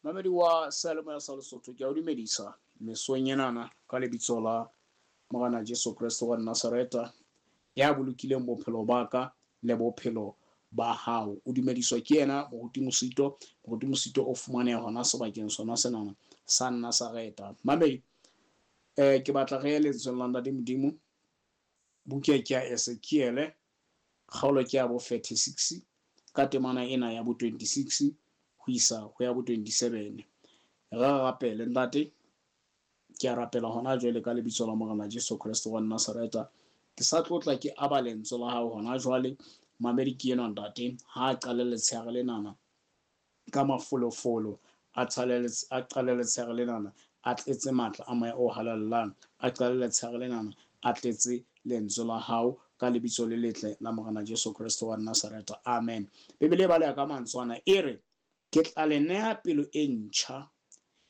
Mamedi wa seyalemoya sa Lesotho, ke a o dumedisa mesong enana ka lebitso la Morena Jesu Kreste wa Nazareta ya bolokileng bophelo ba ka le bophelo ba hao. O dumediswa ke yena Moruti Mosito. Moruti Mosito o fumaneha hona sebakeng sona senana sa Nazareta. Mamedi, ke batla re ye lentsweng la Ntate Modimo. Buka ke ya Ezekiele, kgaolo ke ya bo 36 ka temana ena ya bo 26 ho isa ho ya bo 27. Re rapele. Ntate, ke a rapela hona jwale ka lebitso la Morena Jesu Kreste wa Nazareta. Ke sa tlotla ke aba lentswe la hao hona jwale. Mamedi ke enwa ntate, ha a qale letshehare lenana ka mafolofolo, a qale letshehare lenana a tletse matla a moya o halalelang, a qale letshehare lenana a tletse lentswe la hao ka lebitso le letle la Morena Jesu Kreste wa Nazareta. Amen. Bibele e baleha ka mantswe ana, e re, ke tla le neha pelo e ntjha,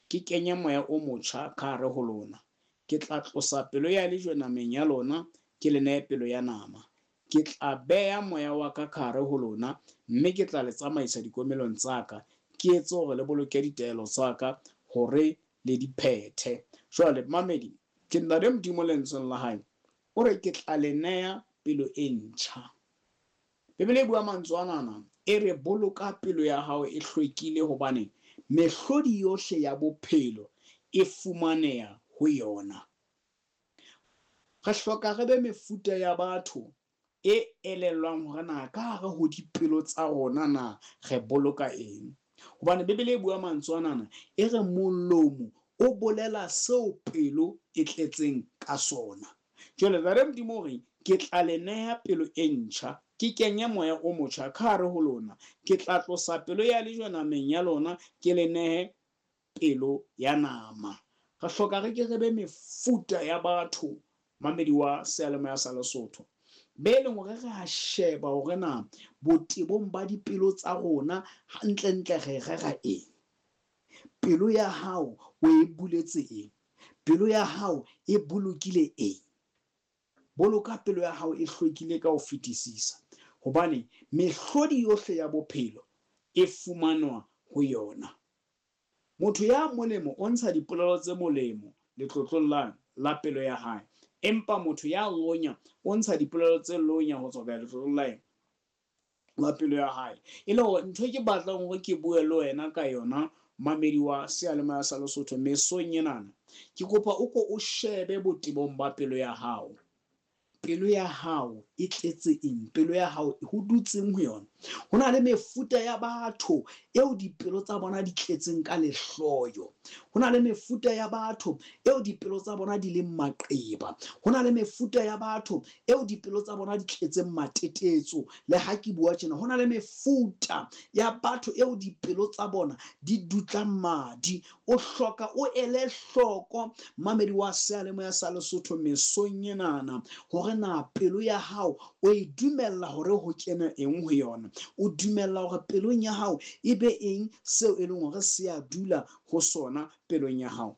ke kenye moya o motjha ka hare ho lona. Ke tla tlosa pelo ya lejwe nameng ya lona, ke le nehe pelo ya nama. Ke tla beha moya wa ka ka hare ho lona, mme ke tla le tsamaisa dikomelong tsa ka, ke etse hore le boloke ditaelo tsa ka, hore le di phethe. Jwale, mamedi, ke Ntate Modimo lentsweng la hae, o re ke tla le neha pelo e ntjha. Bibele e bua mantswe anana, e re boloka pelo ya hao e hlwekile hobane mehlodi yohle ya bophelo e fumaneha ho yona. Re hloka re be mefuta ya batho e elellwang hore na ka hare ho dipelo tsa rona na re boloka eng. Hobane Bibele e bua mantswe anana, e re molomo o bolela seo pelo e tletseng ka sona. Jwale Ntate Modimo o re, ke tla le neha pelo e ntjha, ke kenye moya o motjha ka hare ho lona. Ke tla tlosa pelo ya lejwe nameng ya lona, ke le nehe pelo ya nama. Re hloka re ke re be mefuta ya batho, mamedi wa seyalemoya sa Lesotho, be leng hore re a sheba hore na botebong ba dipelo tsa rona hantlentle re rera eng. Pelo ya hao o e buletse eng? Pelo ya hao e bolokile eng? Boloka pelo ya hao e hlwekile ka ho fetisisa, hobane mehlodi yohle ya bophelo e fumanwa ho yona. Motho ya molemo o ntsha dipolelo tse molemo letlotlong la la pelo ya hae, empa motho ya lonya o ntsha dipolelo tse lonya ho tswa letlotlong la eng? La pelo ya hae. E le hore ntho e ke batlang hore ke bue le wena ka yona, mamedi wa seyalemoya sa Lesotho, mesong enana, ke kopa o ko o shebe botebong ba pelo ya hao. Pelo ya hao e tletse eng? Pelo ya hao ho dutseng ho yona? Ho na le mefuta ya batho eo dipelo tsa bona di tletseng ka lehloyo. Ho na le mefuta ya batho eo dipelo tsa bona di leng maqeba. Ho na le mefuta ya batho eo dipelo tsa bona di tletseng matetetso. Le ha ke bua tjena, ho na le mefuta ya batho eo dipelo tsa bona di dutlang madi. O hloka o ele hloko, mamedi wa seyalemoya sa Lesotho, mesong enana, hore na pelo ya hao o e dumella hore ho kene eng ho yona. O dumella hore pelong ya hao e be eng seo e leng hore se a dula ho sona pelong ya hao.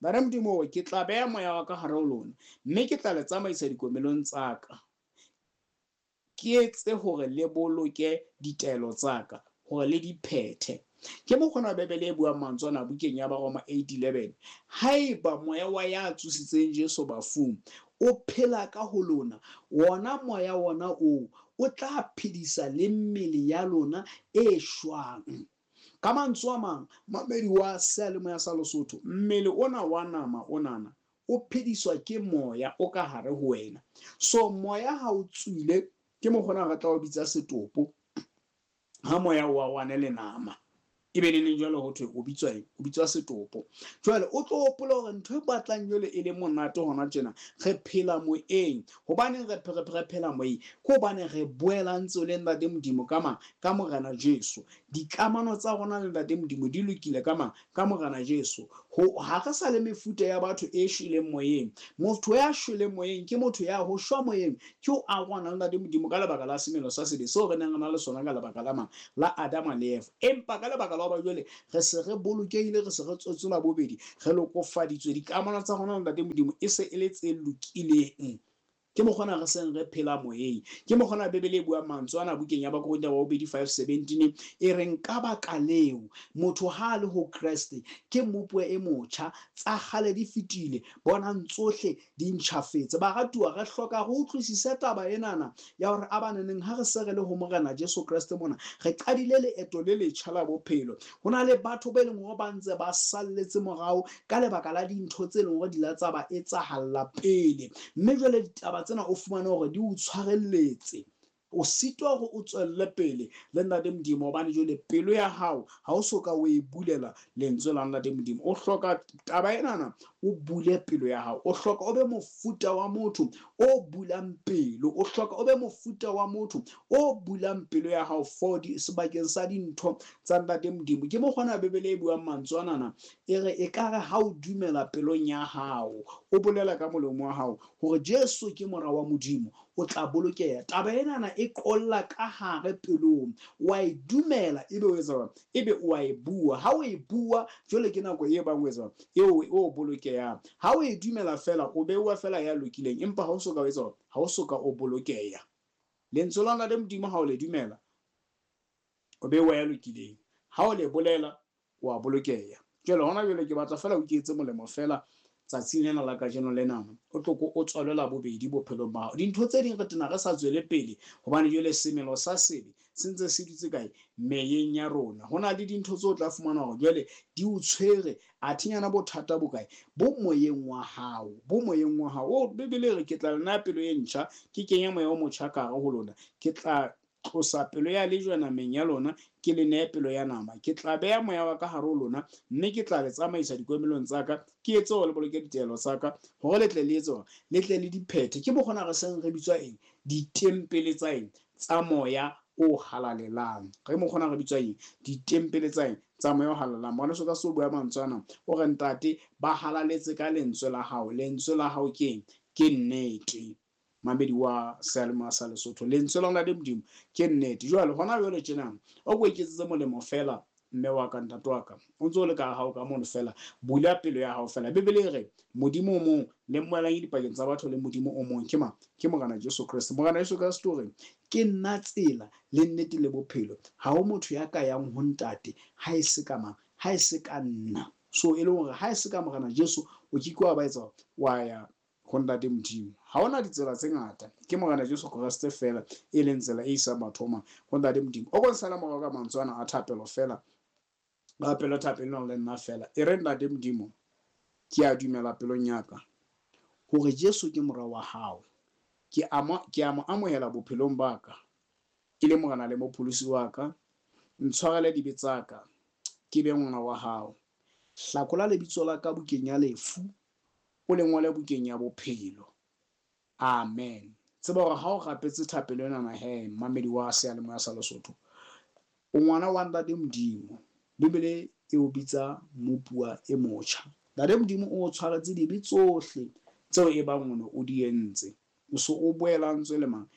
Ntate Modimo o re, ke tla beha moya wa ka hare ho lona, mme ke tla le tsamaisa dikomelong tsa ka. Ke etse hore le boloke ditaelo tsa ka, hore le di phethe. Ke mokgona Bibele e buang mantswe ana bukeng ya Baroma 8:11. Haeba moya wa ya tsositseng Jesu bafung o phela ka ho lona, wona moya wona oo o tla phedisa le mmele ya lona e shwang. Ka mantswe a mang, mamedi wa seyalemoya sa Lesotho, mmele ona wa nama onana o phediswa ke moya o ka hare ho wena. So moya ha o tswile, ke mokgona re tla o bitsa setopo, ha moya o arohane le nama. Ebe neneng jwale ho thwe o bitswa eng? O bitswa setopo. Jwale o tlo hopola hore ntho e batlang jwale e le monate hona tjena, re phela moyeng. Hobaneng re phela moyeng? Ke hobane re boelantse le Ntate Modimo ka mang? Ka Morena Jesu. Dikamano tsa rona le Ntate Modimo di lokile ka mang? Ka Morena Jesu. Ho, ha re sa le mefuta ya batho e shweleng moyeng. Motho ya shweleng moyeng ke motho ya ho shwa moyeng ke ho arohana le Ntate Modimo ka lebaka la semelo sa sebe seo re neng re na le sona ka lebaka la mang? La Adama le Eva. Empa ka lebaka la hoba jwale re se re bolokehile, re se re tswetswe la bobedi, re lokofaditswe, dikamano tsa rona le Ntate Modimo e se e le tse lokileng. Ke mokgona re seng re phela moyeng. Ke mokgona Bibele e buang mantswe ana bukeng ya Bakorinthe ba bobedi 5:17 e reng ka baka leo motho ha a le ho Kreste ke mmopuwa e motjha, tsa kgale di fetile, bonang tsohle di ntjhafetse. Baratuwa, re hloka re utlwisise taba enana ya hore a baneneng ha re se re le ho Morena Jesu Kreste mona, re qadile leeto le letjha la bophelo. Ho na le batho ba e leng hore ba ntse ba salletse morao ka lebaka la dintho tse leng hore di la tsa ba etsahalla pele, mme jwale ditaba tsena o fumane hore di o tshwarelletse, o sitwa hore o tswelle pele le Ntate Modimo, hobane jwale pelo ya hao ha o so ka o e bulela lentswe la Ntate Modimo. O hloka taba enana, o bule pelo ya hao. O hloka o be mofuta wa motho o bulang pelo. O hloka o be mofuta wa motho o bulang pelo ya hao for sebakeng sa dintho tsa Ntate Modimo. Ke mokgona Bibele e buang mantswe anana, e re ekare ha o dumela pelong ya hao, o bolela ka molomo wa hao hore Jesu ke mora wa Modimo, o tla bolokeha. Taba enana e qolla ka hare pelong, wa e dumela, ebe o etsa, ebe o a e bua. Ha o e bua jwale ke nako e bang o etsa eo o bolokehang. Ha o e dumela fela, o beuwa fela ya lokileng, empa ha o soka o etsa, ha o soka o bolokeha. Lentswe la Ntate Modimo ha o le dumela, o beuwa ya lokileng. Ha o le bolela, o a bolokeha. Jwale hona jwale ke batla fela o iketse molemo fela tsatsing lena la kajeno lena, o tlo ko o tswalwe la bobedi bophelong ba hao. Dintho tse ding re tena re sa tswele pele, hobane jwale semelo sa sebe se ntse se dutse kae? Meyeng ya rona. Ho na le dintho tseo o tla fumana hore jwale di o tshwere, athe nyana bothata bo kae? Bo moyeng wa hao, bo moyeng wa hao. O Bibele e re ke tla le naya pelo e ntjha, ke kenye moya o motjha ka hare ho lona, ke tla tlosa pelo ya lejwe nameng ya lona, ke le nehe pelo ya nama. Ke tla beha moya wa ka hare ho lona, mme ke tla le tsamaisa dikomelong tsa ka, ke etse hore le boloke ditaelo tsa ka, hore le tle le etse hore le tle le di phethe. Ke mokgona re seng re bitswa eng? Ditempele tsa eng? Tsa moya o halalelang. Re mokgona re bitswa eng? Ditempele tsa eng? Tsa moya o halalelang. Ngwaneso ka se o bua mantswe ana, o re ntate ba halaletse ka lentswe la hao. Lentswe la hao ke eng? Ke nnete. Mamedi wa seyalemoya sa Lesotho, lentswe la Ntate Modimo ke nnete. Jwale hona jwale tjena o ko iketsetse molemo fela, mme wa ka, ntate wa ka, o ntse o le ka hao ka mono fela, bula pelo ya hao fela. Bibele e re Modimo o mong le mmoelanyi dipakeng tsa batho le Modimo o mong ke mang? Ke Morena Jesu Kreste. Morena Jesu Kreste o re ke nna tsela le nnete le bophelo, ha ho motho ya ka yang ho ntate ha e se ka mang? Ha e se ka nna. So e leng hore ha e se ka Morena Jesu o ke ke wa ba etsa wa ya ho Ntate Modimo. Ha hona ditsela tse ngata, ke Morena Jesu Kreste fela e leng tsela e isang batho ho mang? Ho Ntate Modimo. O ko nsala morao ka mantswe ana a thapelo fela, rapelo thapelo le nna fela. E re Ntate Modimo, ke a dumela pelong ya ka hore Jesu ke mora wa hao. Ke a mo amohela bophelong ba ka ke le Morena le Mopholosi wa ka. Ntshwarele dibe tsa ka, ke be ngwana wa hao. Hlakola lebitso la ka bukeng ya lefu, o le ngole bukeng ya bophelo. Amen. Tseba hore ha o rapetse thapelo enana he, mmamedi wa seyalemoya sa Lesotho, o ngwana wa Ntate Modimo. Bibele e o bitsa mmopuwa e motjha. Ntate Modimo o o tshwaretse dibe tsohle tseo e bang o ne o di entse. O so o boelantswe le mang?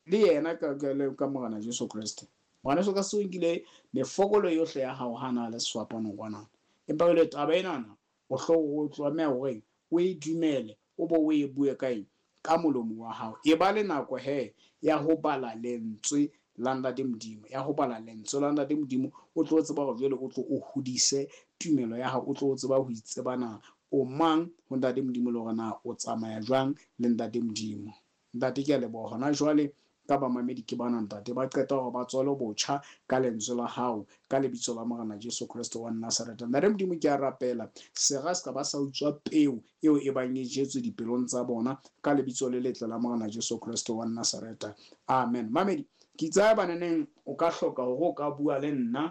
Le yena ka Morena Jesu Kreste. Morena Jesu Kreste o nkile mefokolo yohle ya hao ha na le sefapanong kwanana. Empa jwale taba enana o o tlameha hore o e dumele, o bo o e bue ka eng? Ka molomo wa hao. E ba le nako he ya ho bala lentswe la Ntate Modimo, ya ho bala lentswe la Ntate Modimo, o tlo tseba hore jwale o tlo o hodise tumelo ya hao, o tlo tseba ho itseba na o mang ho Ntate Modimo le hore na o tsamaya jwang le Ntate Modimo. Ntate, ke a leboha hona jwale ka bamamedi ke bana ntate ba qeta hore ba tswalwe botjha ka lentswe la hao, ka lebitso la Morena Jesu Kreste wa Nazareth. Ntate Modimo, ke a rapela sera se ka ba sa utswa peo eo e bang e jetswe dipelong tsa bona ka lebitso le letle la Morena Jesu Kreste wa Nazareth. Amen. Mamedi, ke itse baneneng o ka hloka hore o ka bua le nna.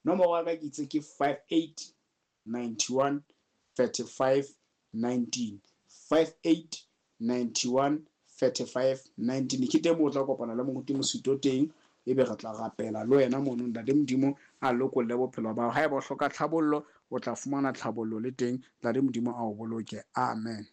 Nomoro ya ka ke itse ke 58 91 35 19, 58 91 35 19. Ke teng moo o tla kopana le moruti Mosito teng, ebe re tla rapela le wena mono. Ntate Modimo a lokolle bophelo ba hao. Haeba o hloka tlhabollo, o tla fumana tlhabollo le teng. Ntate Modimo a o boloke. Amen.